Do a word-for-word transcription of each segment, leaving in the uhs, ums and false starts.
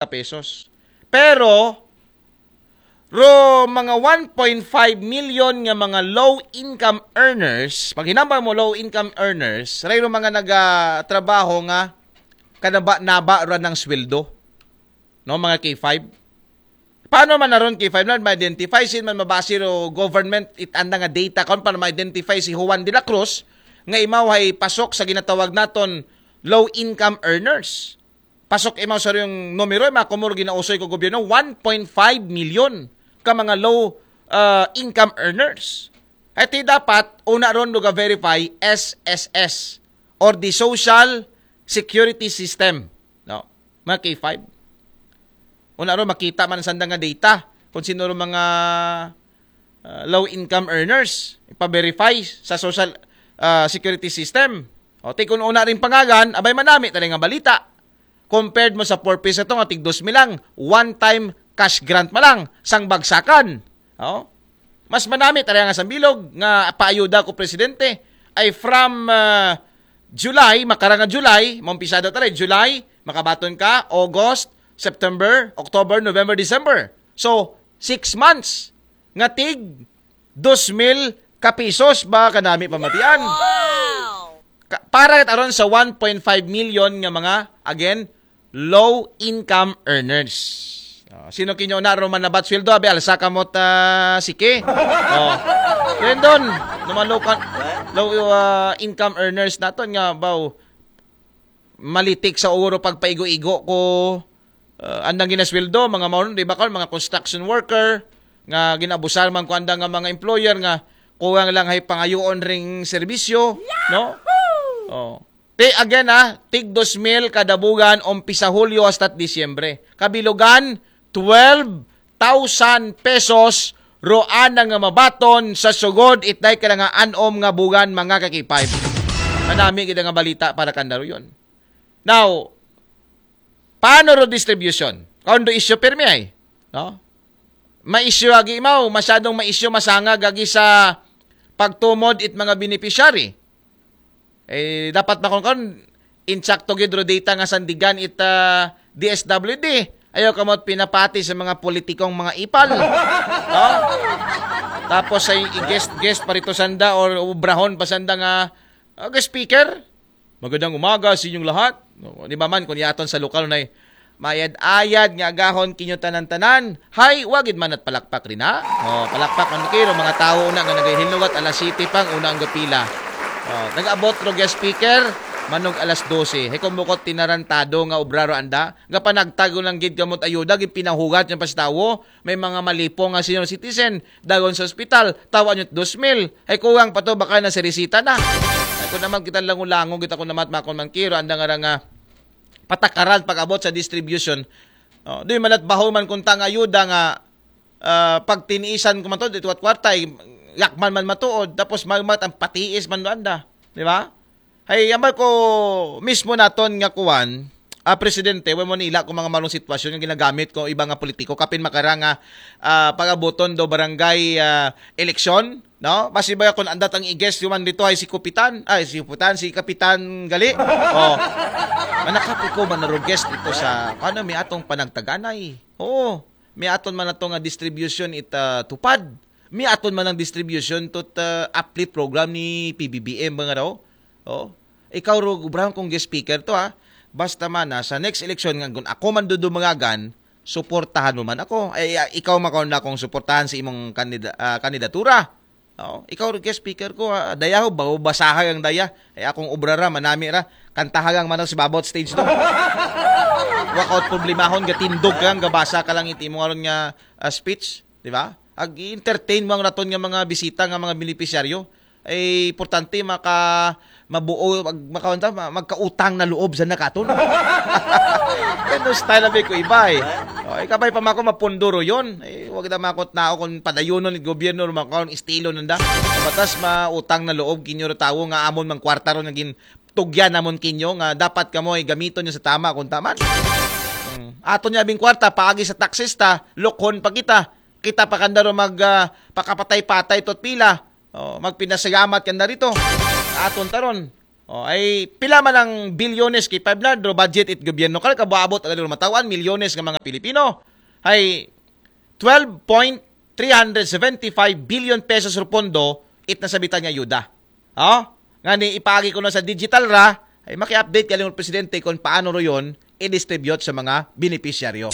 pesos. Pero, ro mga one point five million nga mga low income earners, pag hinambal mo low income earners, ray ro mga nagatrabaho nga kanaba-naba ra ng sweldo. No, mga K five. Paano man naron K five na ma-identify? Sin man mabase ro government it anda nga data karon para ma-identify si Juan de la Cruz nga imaw hay pasok sa ginatawag naton low income earners. Pasok imaw sa yung numero, mga kumuro ginausoy ko gobyerno, one point five million ka mga low uh, income earners. Ito dapat, una ron luga verify S S S or the Social Security System. No? Mga K five. Una ron makita man sa nga data kung sino ron mga uh, low income earners. Ipa-verify sa Social uh, Security System. O, ti kung una rin pangagan, abay manami talaga nga balita. Compared mo sa four pesos ito nga tig dos mil lang, one time cash grant pa lang, sang bagsakan. O? Mas manami talaga nga sambilog nga paayuda ko presidente ay from uh, July, makarang nga July, maumpisado tayo, July, makabaton ka, August, September, October, November, December. So, six months nga tig dos mil ka pesos ba kanami pamatian. Ka- para kat aron sa one point five million nga mga, again, low income earners. Oh, sino kinyo na ro man nabat sweldo, abi alsa kamot uh, siki. Oh. Rendon, no mga low, low uh, income earners naton nga baw malitik sa uro pagpaigo-igo ko uh, andang ginasweldo, mga maunon, di ba karon, mga construction worker, nga ginabusan man ko andang nga mga employer nga kuwang lang hay pangayoon ring serbisyo, no? Oh. Ti again ah, tig dos mil kada buwan umpisa Hulyo hasta Disyembre. Kabilugan, twelve thousand pesos roan na nga mabaton sa sugod itday ka nga anom nga buwan mga ka-K five. Manami gid nga balita para kanda ro yun. Now, paano ro distribution? Kung do issue pirmi ay, no? Ma-issue agi imaw, masyadong ma-issue masangag agi sa pagtumod it mga beneficiary. Eh, dapat makon kon insakto gid ro data nga sandigan it uh, D S W D. Ayaw kamot pinapati sa mga politikong mga ipal. No? Tapos sa i-guest guest pa rito sanda or ubrahon pa sanda nga uh, guest speaker. Magandang umaga sa inyong lahat. No, di ba man kung yaton sa lokal na mayad-ayad nga agahon kinyo tanan-tanan. Hay, wagid man at palakpak rin ha. Oh, palakpak man kayo mga tao na nga naghihinugat alas siyete pang una ang gapila. Oh, nag-abot ro guest speaker manog alas dose. Hay kung bukot tinarantado nga obraro anda, nga panagtago lang gid kamot ayuda gid pinahugat yung pastawo. May mga malipong nga senior citizen dagon sa ospital, tawa nyo dos mil. Ay kuwang pa to, baka na si resita na. Ay kung naman kita langulango, kita ko naman makon man kiro, anda nga nga patakaran pag-abot sa distribution. Oh, di malat baho man kung tang ayuda nga uh, pagtiniisan ko man to, dito at kwarta, eh, yakman man matuod, tapos magmat ang patiis man doon da. Di ba? Ay, ambal ko mismo naton nga kuwan, ah, presidente, when mo nila kung mga malong sitwasyon nga ginagamit ko iba nga politiko, kapin makara nga ah, pag-abuton do barangay ah, eleksyon, no? Basi ba kung andat ang i-guest yung man dito ay si Kupitan, ay si Kupitan, si Kapitan Gali. Oh. Manakap ikaw man naro guest dito sa, paano may atong panagtaganay? Oo. May aton man ato nga distribution it ah, tupad. May aton man ang distribution to uh, uplift program ni P B B M mga raw. Oh. Ikaw ro Brown kung guest speaker to ha. Basta man na sa next election nga kung ako man dudumangagan, suportahan mo man ako. Ay ah, ikaw makaon na akong suportahan sa imong kandida, ah, kandidatura. Oh, ikaw ro guest speaker ko ha. Daya ho, bago basahay ang daya. Ay akong obra ra, manami ra. Kantahagang man si babot stage to. Wakaot problemahon, gatindog ka, gabasa ka lang iti mo aron nga ah, speech. Di ba? Ag entertain mo ang raton nga mga bisita nga mga benepisyaryo. Ay importante maka mabuo mag, makawanta, ma- magkautang na loob sa nakaton. Ano style abi ko iba eh. O, ikabay pa mako mapunduro yon. Eh, wag na makot na kung padayonon ng gobyerno makaon estilo nanda. Batas mautang na loob kinyo ro tawo nga amon mang kwarta ro naging tugyan namon kinyo nga dapat kamo ay gamiton nyo sa tama kung taman. Hmm. Aton niya bing kwarta paagi sa taxes ta, lokhon pa kita. Kita pa kanda ro mag ah, pakapatay-patay tot pila. Oh, magpinasalamat kanda rito. Aton taron. O, ay pila man ang bilyones kay five na, do budget it gobyerno. Kala kabuabot ang mataw-an, milyones nga mga Pilipino. Ay twelve point three hundred seventy-five billion pesos ro pondo it nasabitan nga ayuda. O, nga ni ipaagi ko na sa digital ra, ay maki-update ka lang presidente kung paano ro yon i-distribute sa mga benepisyaryo.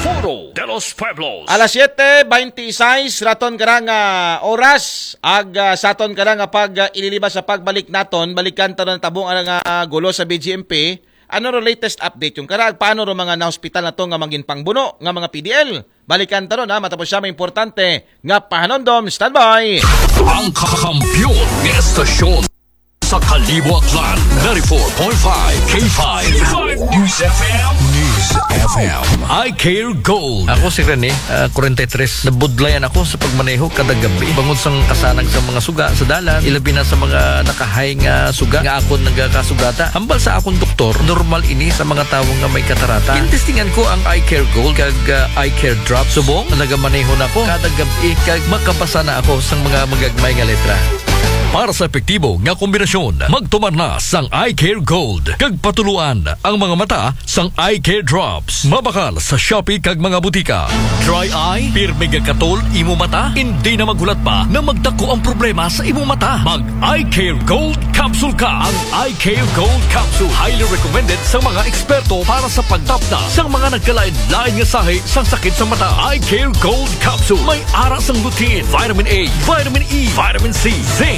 Foro de los Pueblos. Alas siete veintiséis raton kara nga oras, ag ah, saton kara nga pag ah, ililibas sa pagbalik naton, balikan ta na tabong ara nga gulo sa B G M P. Ano ro latest update yung kara? Paano ro mga na-hospital na to nga mangin pangbuno nga mga P D L? Balikan ta ron ha, matapos siya may importante nga pahanondom. Standby! Ang kakampiyon ng estasyon sa Kalibo Aklan, ninety-four point five K five News F M. News F M. I Care Gold. Ako si Rene, ah, forty-three. Nabudlayan ako sa pagmaneho kada gabi. Bangod sang kasanag sa mga suga sa dalan, ilabi na sa mga nakahay nga suga nga akon nagakasugata. Hambal sa akong doktor, normal ini sa mga tawo nga may katarata. Gintestingan ko ang Eye Care Gold kag ah, Eye Care Drop. Subong, nagamaneho na ko kada gabi kag makabasa na ako sang mga magagmay nga letra. Para sa epektibo nga kombinasyon, magtumar na sang Eye Care Gold kag patuluan ang mga mata sang Eye Care Drops. Mabakal sa Shopee kag mga butika. Dry eye, pirmi nga katol imo mata, hindi na maghulat pa na magdako ang problema sa imo mata. Mag Eye Care Gold Capsule ka. Ang Eye Care Gold Capsule highly recommended sa mga eksperto para sa pagtapda sa mga nagkalain-lain nga sahi sang sakit sa mata. Eye Care Gold Capsule may ara sang lutein, vitamin A, vitamin E, vitamin C, zinc,